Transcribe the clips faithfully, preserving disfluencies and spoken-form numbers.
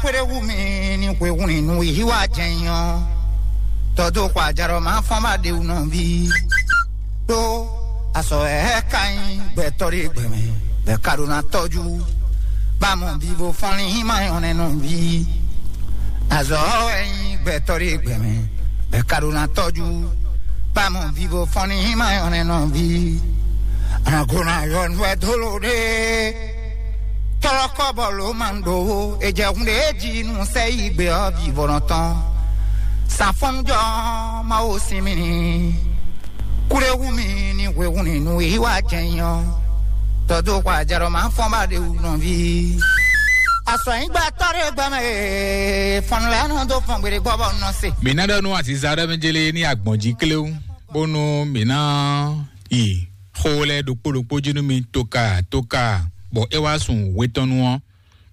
Kpéɖé wú mi ní hwehun ní nú yí wá jɛ́n nyɔ́. Tɔdó xɔ ajarɔ má fɔ́n bá ɖe wú nɔví. Ɖó asɔ ɛ ka nyí gbɛtɔ́ ɖé gbɛmɛ bɛ ka ɖó ná tɔ́jú. Bá mɔ vivo fɔnlín má nyɔ́ nɛ́ nɔví. Azɔ ɛ nyí gbɛtɔ́ ɖé gbɛmɛ bɛ ka ɖó ná tɔ́jú. Bá mɔ vivo fɔnlín má nyɔ́ nɛ́ nɔví. Anagona yɔ nú ɛ dó ló ɖé. Tɔlɔkɔ bɔ ló ma ɖo wo, e jɛ hun ɖe ji nu sɛ yi gbe ɔ vivɔnɔ tɔn. Safɔnjɔ ma wo sin mi ni. Kule wu mi ni hwe hun ni nu yi wa jɛ nyɔ. Tɔdo kwa jarɔ ma fɔn ba de wu nɔvi. Asɔ yi gba tɔ de gba me. Fɔn lɛ nɔ do fɔn gbede gbɔ bɔ nɔ se. Mina ɖɔ nu aziza ɖe me jele ni agbɔn ji klewu. Bonu mina yi xó lɛ ɖokpó ɖokpó jí nú mi toka toka, bɔ é wá sun hwetɔ́nu ɔ́,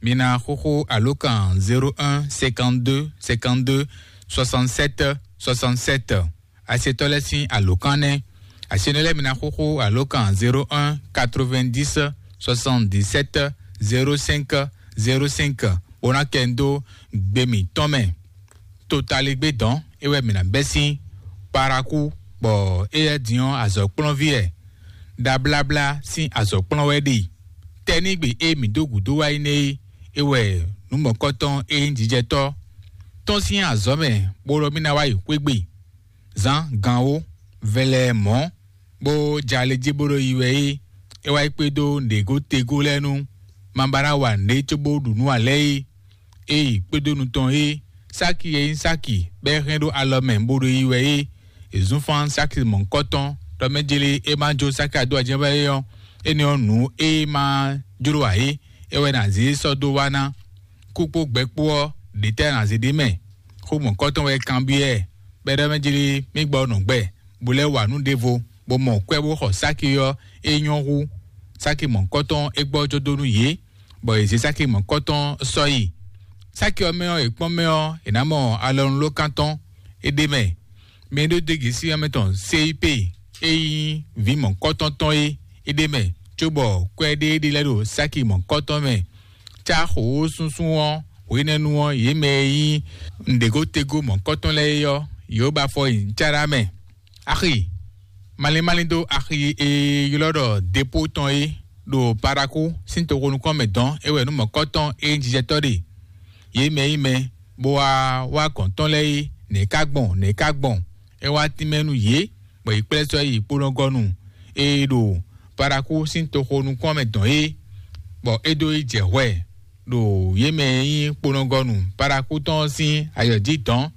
mi ná xóxó alókan zéro un cinquante-deux cinquante-deux soixante-sept soixante-sept. Asetɔ́ lɛ́ɛ sín alókan nɛ́. Asenɔ lɛ́ɛ mi ná xóxó alókan zéro un quatre-vingt-dix soixante-dix-sept zéro cinq zéro cinq, bó ná kɛ ń dó gbe mǐtɔn mɛ. Totaligbé dɔn é wɛ mǐ ná bɛ́ sín Paraku, bɔ éyɛ́ din ɔ́ azɔ̌kplɔ́nví wɛ. Ɖabláblá sín azɔ̌kplɔ́n wɛ ɖe. Tɛ́nígbe e mǐ dó gǔdo wá yi nɛ́ é, é wɛ nǔ mɔ̌kɔtɔn e nyí jijɛtɔ́ tɔn sín azɔ̌ mɛ, bó ɖɔ mì ná wá yi xwé gbe. Zǎn gan ó, vɛlɛ mɔ̌, bó jɛ ali jí bó ɖo yi wɛ é. É wá yi kpédó nǔɖégó tegó lɛ́ɛ nú ma ba ná wa nǔɖé cóbó ɖu nǔ ǎ lɛ́ɛ é. Ée kpédó nu tɔn é, Sáki e nyí Sáki bɔ é hɛn ɖó alɔ mɛ bó ɖo yi wɛ é. È zún fán Sáki mɔ̌hunkɔtɔn ɖɔ mɛ jlé é má jó Sáki adó ajɛ́ wɛ é ɔ́, énɛ́ ɔ́ nǔ e ma jló ǎ é, é wɛ ná zě sɔ́ dó wá ná. Kú kpó gbɛ kpó ɔ́, ɖě tɛ́ ná zě ɖ'é mɛ? Xó mɔ̌hunkɔtɔn wɛ kanbyɔ́ ɛ, bɔ é ɖɔ mɛ jlé mì gbɔ nɔ gbɛ, bó lɛ́ wa nǔ ɖěvo, bó mɔ kwɛ́ bó xɔ Sáki ɔ́, é nyɔ́ hú. Sáki mɔ̌hunkɔtɔn é gbɔ jó dó nú yě, bɔ yě zé Sáki mɔ̌kɔtɔn sɔ́ yi. Sáki ɔ́ mɛ ɔ́, è kpɔ́n mɛ ɔ́, è nǎ mɔ alɔnulókan tɔn é ɖ'é mɛ. Mɛ e ɖó dégě sí ɔ́ mɛ tɔn Seyípe e nyí vǐ mɔ̌kɔtɔn tɔn é, é ɖ'é mɛ, cóbɔ kwɛ́ ɖé ɖé lɛ́ɛ ɖo Sáki mɔ̌kɔtɔn mɛ. Cá xǒxósúnsún ɔ́, hwenɛ́nu ɔ́, yě mɛ e nyí nǔɖégótegó mɔ̌kɔtɔn lɛ́ɛ é ɔ́, yě ba afɔ nyi cáɖá mɛ. Axi malín malín dó axi e ylɔ́ ɖɔ depo tɔn é ɖo Paraku sín toxo nukɔn mɛ dɔn é wɛ nú mɔ̌kɔtɔn e nyí jijɛtɔ́ ɖe. Yě mɛ yí mɛ bó wá wá gɔ̌n tɔn lɛ́ɛ é, nɛ̌ ká gbɔn, nɛ̌ ká gbɔn? É wá tínmɛ nú yě, bɔ yě kplɛ́ sɔ́ yi kponɔgɔnu e ɖo Paraku sín toxo nukɔn mɛ dɔn é, bɔ é dó yi jɛ hwɛ ɖo yě mɛ e nyí kponɔgɔnu Paraku tɔn ɔ́ sín ayɔ jí dɔn.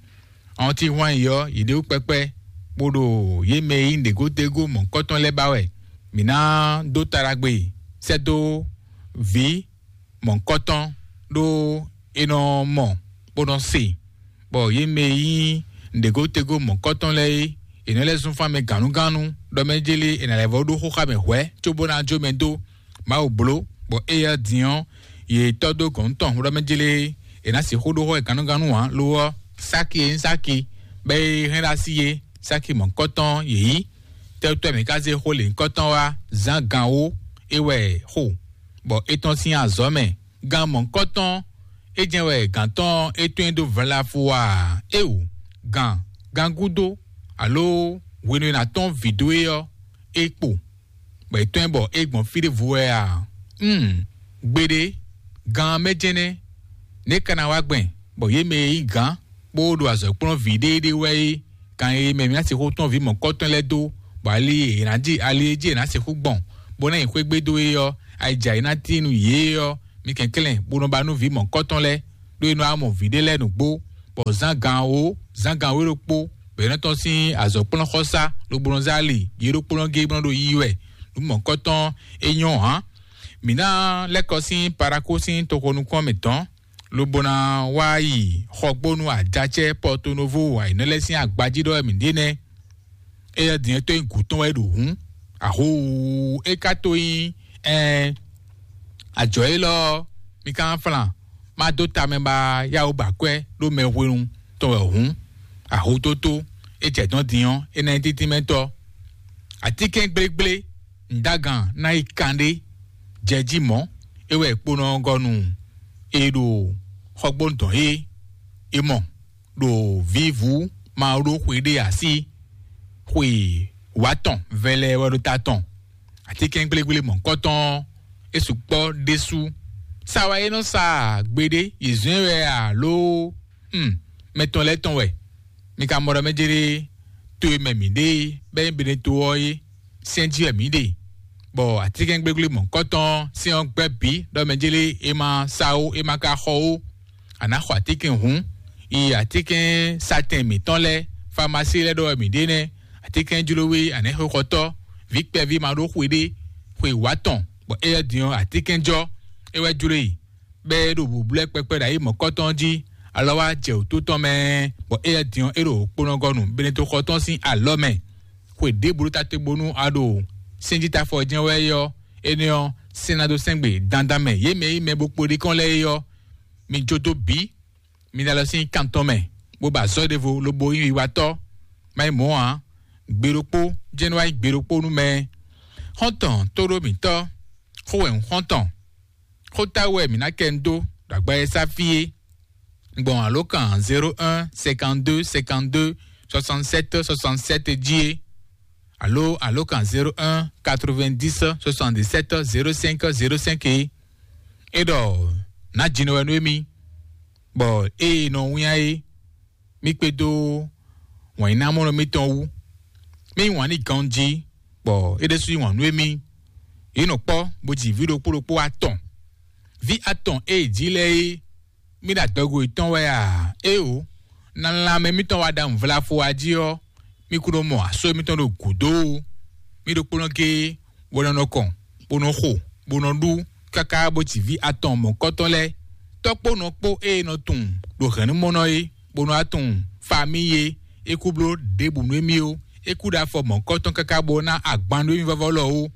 Ɔ́n cí hwan yi ɔ́, yě ɖe wú kpɛkpɛ, bó ɖo yě mɛ e nyí nǔɖégódégó mɔ̌kɔtɔn lɛ́ɛ ba wɛ. Mǐ ná dó ta ɖagbe sɛ́ dó vǐ mɔ̌kɔtɔn, ɖó é nɔ mɔ, bó nɔ se, bɔ yě mɛ e nyí nǔɖégódégó mɔ̌kɔtɔn lɛ́ɛ é, è nɔ lɛ́ zún fán mɛ gǎnnugánnu, ɖɔ mɛ jélé è nǎ lɛ́ vɔ́ ɖó xóxá mɛ hwɛ̌, cóbó ná jó mɛ dó. Mawu bló, bɔ éyɛ́ din ɔ́, yě tɔ́ dó gɔ̌n tɔn ɖɔ mɛ jélé è nǎ sixú ɖó xó e gannúgannu ǎ. Lo ɔ́, Sáki e nyí Sáki, bɔ é hɛn ɖó así é, Sáki mɔ̌hunkɔtɔn yě nyí. Tɛ́tɔ́ mǐ ka zé xó lěhunkɔtɔn wá zán gan wó, é wɛ xo, bɔ é tɔ́n sín azɔ̌ mɛ. Gan mɔ̌hunkɔtɔn é jɛ́n wɛ gǎn tɔn é tɔ́n dó vlafu a? Éeǒ, gan, gan gúdo, alo hwenu e è nǎ tɔ́n vǐ dó é ɔ́, é kpo, bɔ è tɔ́n ɛ bɔ é gbɔn fí ɖěvo wɛ a? Hmm, gbeɖé, gan mɛ jɛnɛ, nɛ̌ ka ná wá gbɛn, bɔ yě mɛ e nyí gǎn, bó ɖo azɔ̌ kplɔ́n vǐ ɖéeɖée wɛ é, gan e mɛ mǐ ná sixú tɔ́n vǐ mɔ̌kɔtɔn lɛ́ɛ dó, bɔ ali e è nǎ ji ali e jí è nǎ sixú gbɔn, bó ná nyi xwé gbe dó é ɔ́, ayǐjǎ e ná tín nú yě é ɔ́, mi kɛnklɛ́n, bó nɔ ba nú vǐ mɔ̌kɔtɔn lɛ́ɛ, ɖó é nɔ wá mɔ vǐ ɖé lɛ́ɛ nǔgbó, bɔ zán gan wǒ, zán gan wǒ ɖokpó, bɔ é nɔ tɔ́n sín azɔ̌kplɔ́nxɔsá, lobo nɔ zé ali yě ɖokpónɔ géé bó nɔ ɖo yiyi wɛ. Nǔ mɔ̌kɔtɔn é nyɔ́ hǎn. Mǐ ná lɛ́ kɔ sín Parakó sín toxo nukɔn mǐtɔn, lobo ná wá yi xɔgbónú ajacɛ Pɔtonovo ayǐnɔ lɛ́ɛ sín agbají ɖɔ wɛ mǐ ɖe nɛ́. Éyɛ́ din é tó nyí gǔ tɔn wɛ ɖo hǔn, ahoo, é ka tó nyí ɛɛ, ajɔ̌ élɔ́ ɔ́, mi ka ná flan, má dó tamɛ ba yáwó ba kwɛ́ ɖó mɛ hwenu tɔn wɛ hǔn, ahotótó é jɛ dɔ̌n din ɔ́, é ná nyí títínmɛtɔ́. Atínkɛn gblégblé, nǔdágan ná yi kanɖé, jɛ jí mɔ̌, é wɛ kponɔ ɔ́ gɔ́ nú e ɖo Xɔgbónu dɔn é, é mɔ ɖo vǐvú ma ɖó xwe ɖé así, xwe wǎtɔn vɛlɛ wɛ ɖo ta tɔn. Atínkɛngblégblémɔ̌kɔtɔn é sukpɔ́ ɖésú. Sa wɛ é nɔ sa gbeɖé, yě zɔ́n ɛ wɛ alo? Hmm, mɛ tɔn lɛ́ɛ tɔn wɛ. Mi ka mɔ ɖɔ mɛ jɛ ɖé to e mɛ mǐ ɖe bɛ́ nyí Beneto ɔ́ é, sɛn jí wɛ mǐ ɖe, bɔ atínkɛngblégblémɔ̌kɔtɔn sɛn ɔ́ gbɛ́ bǐ ɖɔ mɛ jɛ ɖé é ma sa ó, é ma ka xɔ ó. A nǎ xɔ atínkɛn hǔn, yi atínkɛn satɛn mǐtɔn lɛ́ɛ, famasí lɛ́ɛ ɖɔ wɛ mǐ ɖe nɛ́. Atínkɛn jló we a nǎ xwexɔtɔ́, vǐ kpɛví ma ɖó xwe ɖé, xwe wǎ tɔn, bɔ éyɛ́ din ɔ́ atínkɛn jɔ, é wɛ jló e. Bɔ é ɖo bǔblɛ́ kpɛkpɛ ɖo ayi mɔ̌kɔtɔn jí, alɔ wá jɛ wǔtu tɔn mɛ, bɔ éyɛ́ din ɔ́ é ɖo kponɔgɔnu Beneto xɔ tɔn sín alɔ mɛ. Xwe ɖěbǔ ɖo ta te bónú a ɖo sɛ́njítafɔ jɛ́n wɛ é ɔ́, énɛ́ ɔ́, sɛ́n ná dó sɛ́n gbe dandan mɛ yě mɛ e nyí mɛ bo kpo ɖi kɔn lɛ́ɛ é ɔ́, mi jó dó bǐ. Mi ná lɔ sín kan tɔn mɛ, bó ba azɔ̌ ɖěvo lobo nyí wiwatɔ́. Má nyí mɔ̌ ǎ, gbe ɖokpó jɛ́n nɔ wá nyí gbe ɖokpó nú mɛ. Xɔ́ntɔn tóɖó mǐtɔn, xó wɛ un xɔ́ntɔn, xó táwú wɛ mǐ ná kɛ un dó ɖo agba e sá fí é. Gbɔn alǒkan zéro un cinquante-deux cinquante-deux soixante-sept soixante-sept jí é, alo alǒkan zéro un quatre-vingt-dix soixante-dix-sept zéro cinq zéro cinq é. É ɖɔ nǎ jinɔ wɛ nú émí, bɔ ée nɔ wínnyá é, mí kpédó wǎnyínámɔnɔ mítɔn wú. Mí yí wǎn n'i ganjí, bɔ é ɖésú yí wǎn nú émí. Yě nɔ kpɔ́ bó ji vǐ ɖokpó ɖokpó atɔn. Vǐ atɔn e yě ji lɛ́ɛ é, mí ɖo adɔgo yětɔn wɛ a? Éeǒ, na lanmɛ mítɔn wá ɖa nǔvlafo a jí ɔ́, mí kún nɔ mɔ asó mítɔn ɖo gǔdo ó. Mí ɖokpónɔ géé bó nɔ nɔ kɔn, bó nɔ xo, bó nɔ ɖú, káká bó ji vǐ atɔn mɔ̌kɔtɔn lɛ́ɛ. Tɔ́ kpó nɔ kpó e nɔ tunwun ɖo hɛ̌nnumɔnɔ é, bó nɔ wá tunwun famíyi é, é kú bló ɖěbǔ nú émí ó. É kú ɖo afɔ mɔ̌kɔtɔn káká bó ná agban nú émí vɔ́vɔ́ lɔ ó.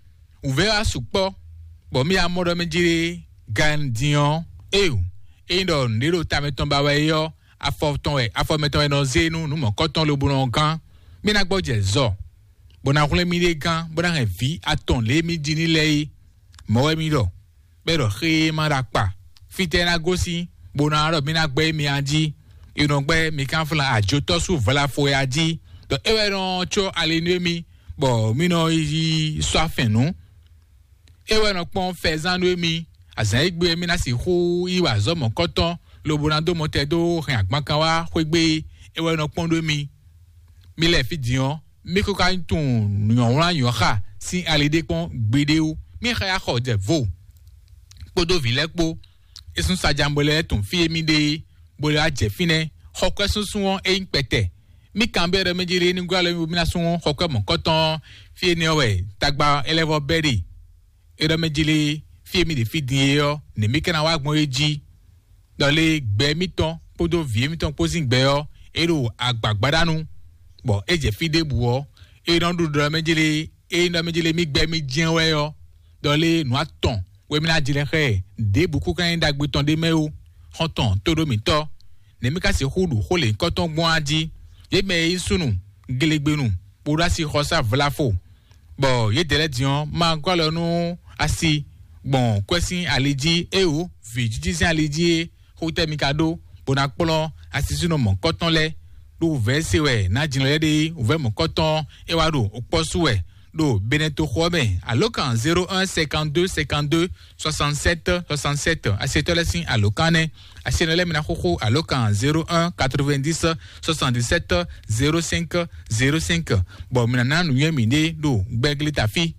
Wǔvɛ́ wá sukpɔ́, bɔ mí amɔ ɖɔ mɛ jí ɖé gan din ɔ́, éeǒ, ényí ɖɔ nǔɖé ɖo ta mɛtɔn ba wɛ é ɔ́, afɔ tɔn wɛ afɔ mɛtɔn wɛ nɔ zé nú nǔ mɔ̌kɔtɔn lobo nɔ gán. Mí ná gbɔjɛ zɔ, bó ná hwlɛ́n mì ɖe gán, bó ná hɛn vǐ atɔn lě e mí ji ní lɛ́ɛ é. Mɔ̌ wɛ mí ɖɔ, bɔ é ɖɔ xé e ma ɖo akpa. Fítɛ́ ná gosín, bó ná ɖɔ mí ná gbɛ́ émí a jí? È nɔ gbɛ́ mǐ kánflán ajotɔ́ sú vlafo ya jí, ɖɔ é wɛ nɔ có ali nú émí, bɔ mí nɔ yi sɔ́ afɛn nǔ. É wɛ nɔ kpɔ́n fɛzán nú émí. Azǎn e gbe mí ná sixú yi wa azɔ̌ mɔ̌kɔtɔn, lobo ná dó mɔtɛn dó hɛn agbankan wá xwé gbe é. É wɛ nɔ kpɔ́n ɖó émí. Mí lɛ́ɛ fí din ɔ́, mí kó ka tunwun nyɔ̌wlán nyɔ̌xa sín ali ɖé kpɔ́n gbeɖé ó. Mí xa ya xɔ jɛ vo kpódó vǐ lɛ́ɛ kpó. É sún sajanbo lɛ́ɛ tunwun fí e mí ɖe é, bó lɛ́ wá jɛ fínɛ́. Xɔkwɛ́ súnsún ɔ́, é nyí kpɛtɛ. Mí kanbyɔ́ ɖɔ mí jí lé ní gɔ́ alɔ mí bo mí ná sú xɔkwɛ́ mɔ̌kɔtɔn ɔ́, fí énɛ́ ɔ́ wɛ tagba é lɛ́ vɔ bɛ́ ɖe. É ɖɔ mɛ jí lé, fí e mí ɖe fí din é ɔ́, nɛ̌ mí ka ná wá gbɔn é jí? Ɖɔ lé gbɛ mítɔn kpódó vǐ émítɔn kpó sín gbɛ ɔ́, é ɖo agbǎgbáɖánu, bɔ é jɛ fí ɖěbǔ ɔ́, é nɔ ɖu ɖɔ mɛ jí lé, é nɔ mɛ jí lé mí gbɛ mí jɛ́n wɛ ɔ́, ɖɔ lé nǔ atɔn wɛ mí ná jlɛ́ xá ɛ, ɖěbǔ kú ka nyí ɖagbe tɔn ɖé mɛ ó. Xɔ́ntɔn tóɖómítɔ́, nɛ̌ mí ka sixú ɖu xó lěhunkɔtɔn gbɔn á jí? Yě mɛ e nyí súnnu, gelegbenu, bó ɖó asixɔsá vlafo, bɔ yědɛɛ lɛ́ɛ din ɔ́, ma gɔ́ alɔ nú asi gbɔn kwɛ́ sín ali jí, éeǒ, vǐ jíjí sín ali jí é. Xó tɛ́ mi ka ɖó, bó ná kplɔ́n asisúnɔ mɔ̌kɔtɔn lɛ́ɛ? Ɖó wǔvɛ́ se wɛ nǎ jlɛ́ lɛ́ɛ ɖe, wǔvɛ́ mɔ̌kɔtɔn é wá ɖo okpɔ́ sú wɛ ɖo Benɛtoxo ɔ́ mɛ. Alǒkan zéro un cinquante-deux cinquante-deux soixante-sept soixante-sept, asetɔ́ lɛ́ɛ sín alǒkan nɛ́. Asenɔ lɛ́ɛ mi ná xóxó alǒkan zéro un quatre-vingt-dix soixante-dix-sept zéro cinq zéro cinq, bɔ mi ná ná nǔnywɛ́ mǐɖée ɖo gbɛ́glí ta fí.